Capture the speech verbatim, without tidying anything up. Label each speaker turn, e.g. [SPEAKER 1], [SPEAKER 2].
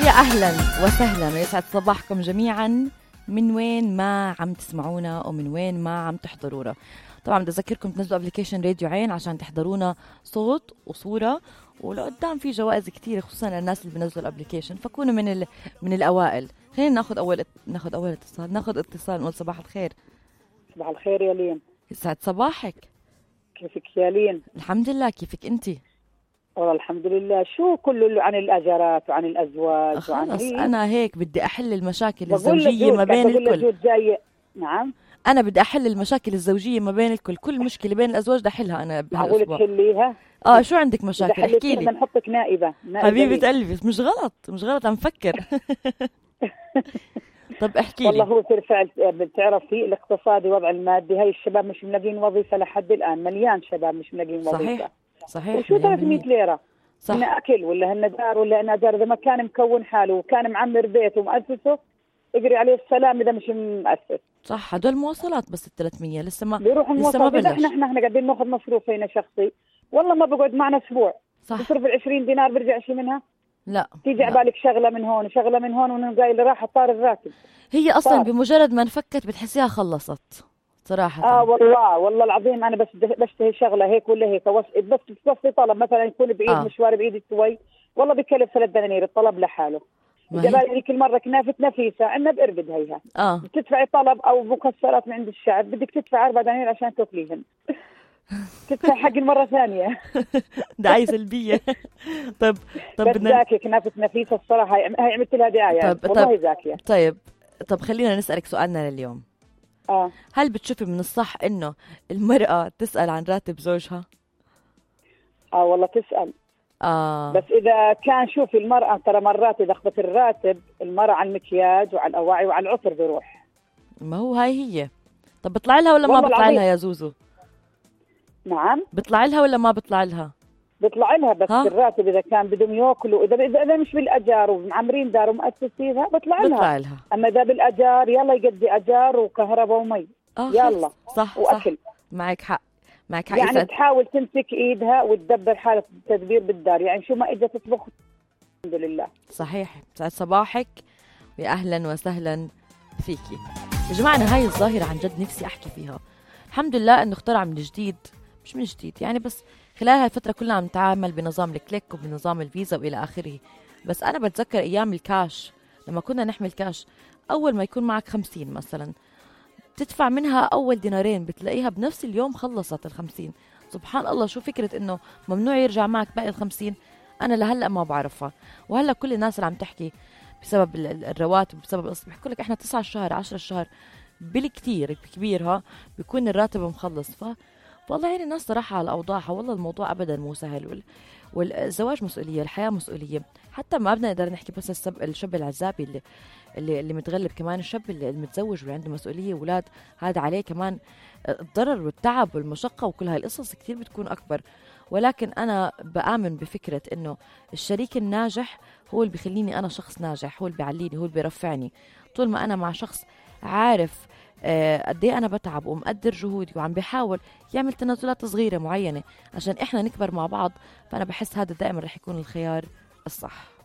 [SPEAKER 1] يا أهلا وسهلا ويسعد صباحكم جميعا من وين ما عم تسمعونا ومن وين ما عم تحضرونا. طبعا بدي أذكركم تنزلوا ابليكيشن راديو عين عشان تحضرونا صوت وصورة، ولقدام في جوائز كتير خصوصا للناس اللي بنزلوا الابليكيشن، فكونوا من ال... من الأوائل. خلينا ناخذ أول ناخذ أول اتصال ناخذ اتصال نقول صباح الخير.
[SPEAKER 2] صباح الخير يا لين.
[SPEAKER 1] يسعد صباحك.
[SPEAKER 2] كيفك يا لين؟
[SPEAKER 1] الحمد لله، كيفك أنتي؟
[SPEAKER 2] والله الحمد لله. شو كله عن الأجارات وعن الأزواج
[SPEAKER 1] خلص
[SPEAKER 2] وعن
[SPEAKER 1] هي؟ أنا هيك بدي أحل المشاكل
[SPEAKER 2] بقول
[SPEAKER 1] الزوجية ما بين الكل.
[SPEAKER 2] جاي. نعم،
[SPEAKER 1] أنا بدي أحل المشاكل الزوجية ما بين الكل، كل مشكلة بين الأزواج بدي أحلها أنا
[SPEAKER 2] بهالأسبوع. معقول تحليها؟
[SPEAKER 1] آه شو عندك مشاكل؟ احكي لي.
[SPEAKER 2] بدنا نحطك نائبة, نائبة
[SPEAKER 1] حبيبة قلبي، مش غلط مش غلط، عم فكر. طب احكي لي.
[SPEAKER 2] والله هو بالفعل بتعرفي الاقتصادي وضع المادي، هاي الشباب مش ملاقين وظيفة لحد الآن، مليان شباب مش ملاقين وظيفة.
[SPEAKER 1] صحيح صحيح.
[SPEAKER 2] وشو ثلاثمية ليرة؟
[SPEAKER 1] صح.
[SPEAKER 2] هن أكل ولا هن دار ولا هن أجار؟ إذا ما كان مكون حاله وكان معمر بيته ومؤسسه اجري عليه السلام إذا مش مؤسس.
[SPEAKER 1] صح، هدول مواصلات بس الثلاثمية لسه ما
[SPEAKER 2] بيروح
[SPEAKER 1] لسه ما بلش.
[SPEAKER 2] احنا احنا قاعدين ناخذ مصروف هنا شخصي، والله ما بقعد معنا اسبوع.
[SPEAKER 1] صح.
[SPEAKER 2] بصرف العشرين دينار برجع شيء منها.
[SPEAKER 1] لا
[SPEAKER 2] تيجي عبالك شغله من هون وشغله من هون ونقاي اللي راح طار الراتب.
[SPEAKER 1] هي اصلا
[SPEAKER 2] طار.
[SPEAKER 1] بمجرد ما نفكت بتحسيها خلصت صراحه.
[SPEAKER 2] اه والله والله العظيم انا بس بشتهي شغله هيك ولا هيك بس بس تصفي طلب مثلا يكون بعيد آه. مشوار بعيد شوي، والله بكلف ثلاث دنانير الطلب لحاله. جبالي ذيك المره كنافه نفيسه عندنا بقربد هيها.
[SPEAKER 1] اه
[SPEAKER 2] بتدفعي طلب او مكسرات من عند الشعب بدك تدفع أربع دنانير عشان تاكليهن. تدفع حق المره ثانيه.
[SPEAKER 1] دعايه سلبيه. طب طب
[SPEAKER 2] بدنا زاكيه كنافه نفيسه الصراحه، هي عملت لها دعايه.
[SPEAKER 1] طب
[SPEAKER 2] والله
[SPEAKER 1] طب
[SPEAKER 2] زاكيه.
[SPEAKER 1] طيب طب خلينا نسالك سؤالنا لليوم.
[SPEAKER 2] اه
[SPEAKER 1] هل بتشوفي من الصح انه المراه تسال عن راتب زوجها؟
[SPEAKER 2] اه والله تسال.
[SPEAKER 1] آه.
[SPEAKER 2] بس إذا كان شوفي المرأة ترى مرات إذا أخذت الراتب المرأة على المكياج وعلى الأواعي وعلى العطر بيروح.
[SPEAKER 1] ما هو هاي هي. طب بطلع لها ولا ما بطلع العظيم. لها يا زوزو؟
[SPEAKER 2] نعم
[SPEAKER 1] بطلع لها ولا ما بطلع لها؟
[SPEAKER 2] بطلع لها بس ها؟ الراتب إذا كان بدهم يأكلوا إذا إذا إذا مش بالأجار ومعمرين دار ومؤسسينها بطلع لها.
[SPEAKER 1] بطلع لها.
[SPEAKER 2] أما إذا بالأجار يلا يقضي أجار وكهرباء ومي.
[SPEAKER 1] آه
[SPEAKER 2] يلا
[SPEAKER 1] صح
[SPEAKER 2] وأكل.
[SPEAKER 1] صح. معك حق معك حق.
[SPEAKER 2] يعني
[SPEAKER 1] يسعد.
[SPEAKER 2] تحاول تمسك إيدها وتدبر حالة التدبير بالدار، يعني شو ما إجت تطبخ. الحمد لله.
[SPEAKER 1] صحيح. سعد صباحك ويا أهلا وسهلا فيكي يا جماعة. أنا هاي الظاهرة عن جد نفسي أحكي فيها. الحمد لله أنه اخترع من جديد، مش من جديد يعني، بس خلال هالفترة كلنا عم نتعامل بنظام الكليك وبنظام الفيزا وإلى آخره. بس أنا بتذكر أيام الكاش لما كنا نحمل كاش، أول ما يكون معك خمسين مثلا تدفع منها أول دينارين بتلاقيها بنفس اليوم خلصت الخمسين. سبحان الله، شو فكرة إنه ممنوع يرجع معك باقي الخمسين؟ أنا لهلأ ما بعرفها. وهلأ كل الناس اللي عم تحكي بسبب الرواتب بسبب القسط بيحكوا لك إحنا تسعة الشهر عشرة الشهر بالكتير بكبيرها بيكون الراتب مخلص. ف والله يعني الناس صراحة على أوضاعها. والله الموضوع أبدا مو سهل، وال... والزواج مسؤولية، الحياة مسؤولية. حتى ما بدنا نقدر نحكي بس السب... الشاب العزابي اللي اللي, اللي متغلب، كمان الشاب اللي المتزوج واللي عنده مسؤولية أولاد، هذا عليه كمان الضرر والتعب والمشقة وكل هاي القصص كتير بتكون أكبر. ولكن أنا بآمن بفكرة إنه الشريك الناجح هو اللي بيخليني أنا شخص ناجح، هو اللي بيعليني، هو اللي بيرفعني. طول ما أنا مع شخص عارف آه قد ايه انا بتعب ومقدر جهودي وعم بيحاول يعمل تنازلات صغيره معينه عشان احنا نكبر مع بعض، فانا بحس هذا دائما رح يكون الخيار الصح.